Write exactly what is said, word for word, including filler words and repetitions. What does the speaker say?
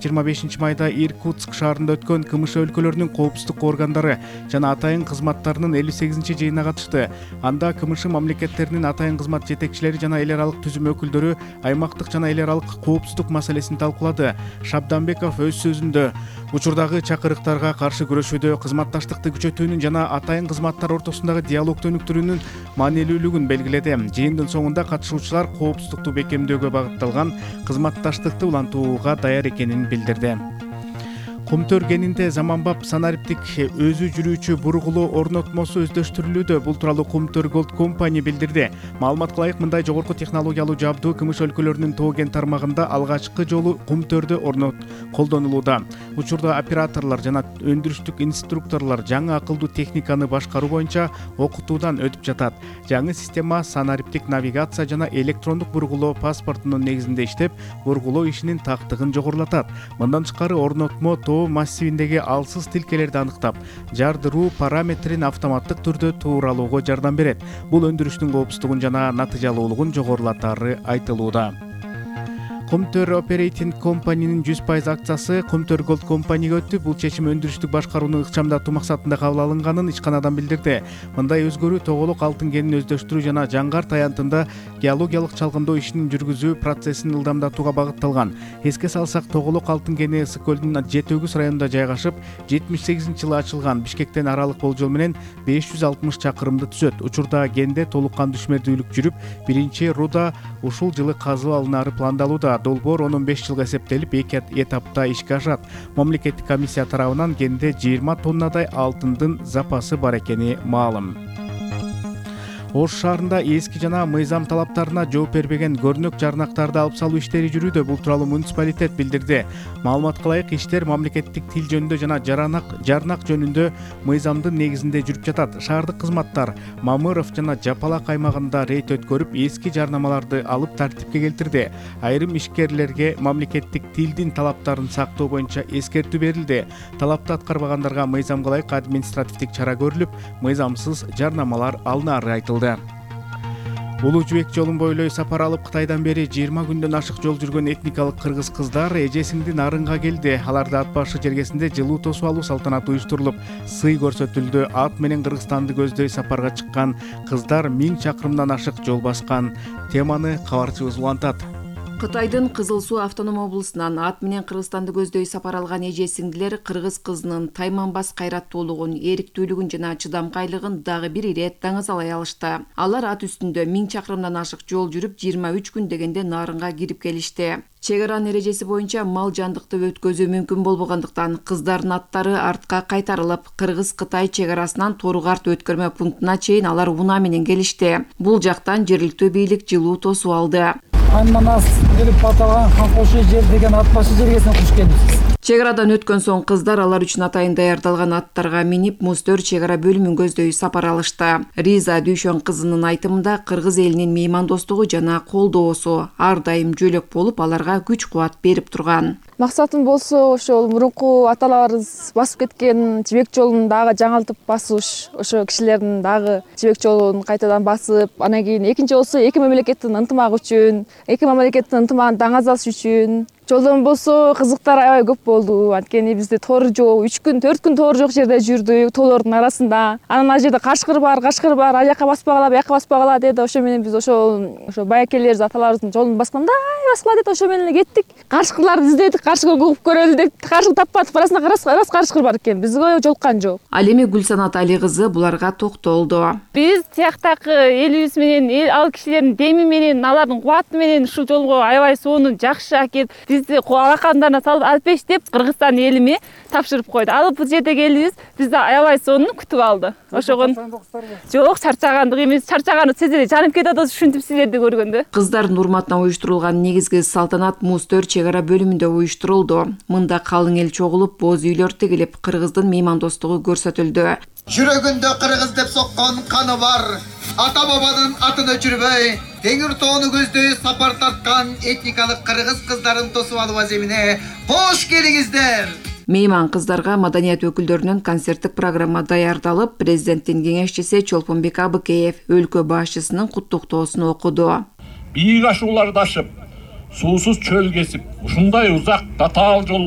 жыйырма бешинчи майда Иркутск шаарында өткөн КМШ өлкөлөрүнүн коопсуздук органдары жана атайын кызматтарынын элүү сегизинчи жыйынына катышты. Анда КМШ мамлекеттеринин атайын кызмат жетекчилери жана эл аралык түзүм өкүлдөрү аймактык жана эл аралык коопсуздук маселесин талкуулады. Шабданбеков өз сөзүндө учурдагы чакырыктарга каршы күрөшүүдө кызматташтыкты күчөтүүнүн жана атайын кызматтар ортосундагы диалогду өнүктүрүүнүн маанилүүлүгүн белгиледи. Жыйындын соңунда катышуучулар коопсуздукту бекемдөөгө багытталган кызматташтыкты улантууга даяр экенин билдирди. Кумтөр кенинде заманбап санариптик өзү жүрүүчү бургулуу орнотмосу өздөштүрүлүүдө. Бул тууралуу Кумтөр Gold Company билдирди. Маалыматка ылайык, мындай жогорку технологиялуу жабдуу КМШ өлкөлөрүнүн Тоо кен тармагында алгачкы жолу Кумтөрдө орнот колдонулууда. Учурда операторлор жана өндүрүштүк инструкторлор жаңы акылдуу техниканы башкаруу боюнча окутуудан өтүп жатат. Жаңы система санариптик навигация жана электрондук бургулоо паспортунун негизинде иштеп, бургулоо ишинин тактыгын жогорулатат. Мындан тышкары орнотмо Тоо массивиндеги алсыз тилкелерди аныктап, жардыруу параметрин автоматтык түрдө тууралоого жардам берет. Бул өндүрүштүн коопсуздугун жана натыйжалуулугун жогорулатары айтылууда. Кумтөр Operating Company'нин жүз пайыз акциясы Кумтөр Gold Company'га өттү. Бул чечим өндүрүштүк башкарууну ыкчамдатуу максатында кабыл алынганын ишканадан билдирди. Мындай өзгөрүү тоголок алтын кенин өздөштүрүү жана жаңгар таянтында геологиялык чалгындоо ишин жүргүзүү процессин ылдамдатууга багытталган. Эске салсак, тоголок алтын кени Ысык көлдүн жети өгүз районунда жайгашып, жетимиш сегизинчи жылы ачылган. Бишкектен аралык болжол менен беш жүз алтымыш чакырымды түзөт. Учурда кенде толук кандуу ишмердүүлүк жүрүп, биринчи руда ушул жылы казып алынары пландалууда. Долбоор он беш жылга эсептелип, эки этапта ишке ашат. Мамлекеттик комиссия тарабынан кенде жыйырма тоннадай алтындын запасы бар экени маалым. Ош шаарында эски жана мыйзам талаптарына жооп бербеген көрнөк жарнактарды алып салуу иштери жүрүүдө. Бул тууралуу муниципалитет билдирди. Маалыматка ылайык, иштер мамлекеттик тил жөнүндө жана жаранак жарнак жөнүндө мыйзамдын негизинде жүрүп жатат. Шаардык кызматтар Мамыров жана Жапалак аймагында рейд өткөрүп, эски жарнамаларды алып тартипке келтирди. Айрым ишкерлерге мамлекеттик тилдин талаптарын сактоо боюнча эскертүү берилди. Талапты аткарбагандарга мыйзамга ылайык административдик чара көрүлүп, мыйзамсыз жарнамалар алынары айтылды. Улуу жибек жолун бойлой сапар алып Кытайдан бери жыйырма күндөн ашык жол жүргөн этникалык кыргыз кыздар эжесиңди нарынга келди. Аларды ат башы жергесинде жылуу тосуп алуу салтанаты уюштурулуп, сый көрсөтүлдү. Ат менен Кыргызстанды көздөй сапарга чыккан кыздар миң чакырымдан ашык жол баскан. Теманы кабарчыбыз улантат. Кытайдын Кызыл Суу автоном облусунан ат менен Кыргызстанды көздөй сапар алган эже сиңдилер кыргыз кызынын тайманбас кайраттуулугун, эриктүүлүгүн жана чыдамкайлыгын дагы бир ирет даңазалай алышты. Алар ат үстүндө миң чакырымдан ашык жол жүрүп, жыйырма үч күн дегенде нарынга кирип келишти. Чек аранын эрежеси боюнча мал жандыкты өткөзүү мүмкүн болбогондуктан кыздардын аттары артка кайтарылып, Кыргыз-Кытай чек арасынан Тору-Карт өткөрмө пунктуна чейин алар унаа менен келишти. Бул жактан жергиликтүү бийлик жылуу тосуп алды. Аннанас келип аталган Ханкошу жер деген ат башы жергесине куш келдиңиз. Чек арадан өткөн соң кыздар алар үчүн атайын даярдалган аттарга минип, Муздөр чек ара бөлүмүн көздөй сапар алышты. Риза Дүйшөн кызынын айтымында, кыргыз элинин меймандостугу жана колдоосу ар дайым жөлөк болуп, аларга күч-кубат берип турган. Максатым болсо ошол мурунку аталарыбыз басып кеткен жибек жолун дагы жаңылтып басыш, ошо кишилердин дагы жибек жолун кайтадан басып, анан кийин экинчи болсо эки мамлекеттин ынтымагы үчүн, эки мамлекеттин ынтымагын даңазалаш үчүн. Жолдон болсо кызыктар аябай көп болду. Анткени бизде тоор жок, үч күн, төрт күн тоор жок жерде жүрдүк, тоолордун арасында. Анан ал жерде кашкыр бар, кашкыр бар, ал жака баспагыла, бияка баспагыла деди. Ошо менен биз ошол ошо байакелерибиз, аталарыбыздын жолун басканда, ай баскыла деди. Ошо менен эле кеттик. Кашкырларды издедик, кашкыр угуп көрөлү деп, кашкыр таппадык. Арасында рас кашкыр бар экен. Бизге жолуккан жок. Ал эми Гүлсанат Али кызы буларга токтолду. Биз тияктагы элибиз менен, ал кишилердин деми менен, алардын кубаты менен ушул жолго аябай сонун жакшы акет. Бизди алакандарына салып алпеш деп Кыргызстан элиме тапшырып койду. Ал бул жерде келибиз, бизди аябай сонун күтүп алды. Ошого жок, чарчагандык эмес, чарчаганы сезилет, жанып кетет ушинтип силерди көргөндө. Кыздардын урматына уюштурулган негизги салтанат Муздөр чек ара бөлүмүндө уюштурулду. Мында калың эл чогулуп, боз үйлөр тигилип, кыргыздын меймандостугу көрсөтүлдү. Жүрөгүндө кыргыз деп соккон каны бар, ата бабанын атын өчүрбөй, Теңир тоону көздөй сапар тарткан этникалык кыргыз кыздарын тосуп алуу аземине кош келиңиздер. Мейман кыздарга маданият өкүлдөрүнүн концерттик программа даярдалып, президенттин кеңешчиси Чолпонбек Абыкеев өлкө башчысынын куттуктоосун окуду. Бийик ашууларды ашып, суусуз чөл кесип, ушундай узак татаал жолго